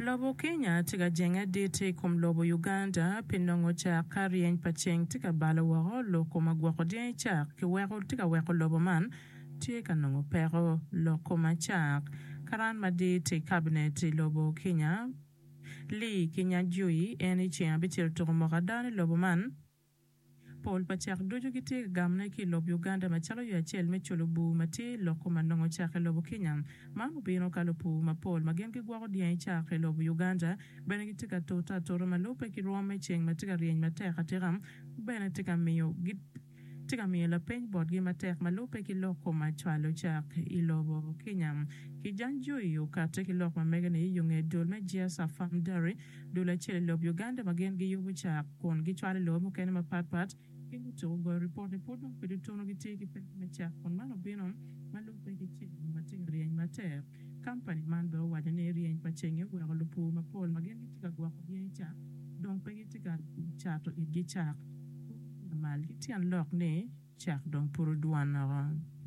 Lobo Kenya tye ka jenge adit i kom lobo Uganda pi nongo cak ka ryeny pa ceng tye ka balo woko loko ma gwoko dyangi cak ki weko tye ka weko lobo man tye ka nongo peko loko ma cak. Karan madit i kabinet i lobo Kenya Lee Kinyanjui en i ceng abicel otuko moko ada ni lobo man Pol pa cak ducu gitye ka gamone ki i lob Uganda macalo yo acel me culo bur ma tye i loko ma nongo cak i lobo Kenya. Man obino ka lupur mapol ma gin gigwoko dyangi cak i lobo Uganda bene gitye ka tute atuta ma lubbe ki rwom me ceng ma tye ka ryeny matek atika bene tye ka miyo tye ka miyo lapeny botgi matek ma lubbe ki loko ma cwalo cak i lobo Kenya. Kijanjui okatte ki lok ma mege-ni i yo nge dul me Jiasa Farm Dairy Dul acel i lob Uganda ma gin giyubo cak kun gicwalo i lobe mukene mapat pat ki gutuko goyo ripot ni pud dong pud otuno gitye ki peko me cak kun man obino ma lubbe ki ceng ma tye ka ryeny matek. Kampani man bene owaco ni ryeny pa cengi oweko lupur mapol ma gin gitye ka gwoko dyangi cak dong pe gitye ka cato itgi cak lamal ki tyen lok ni cak dong pud odwon woko.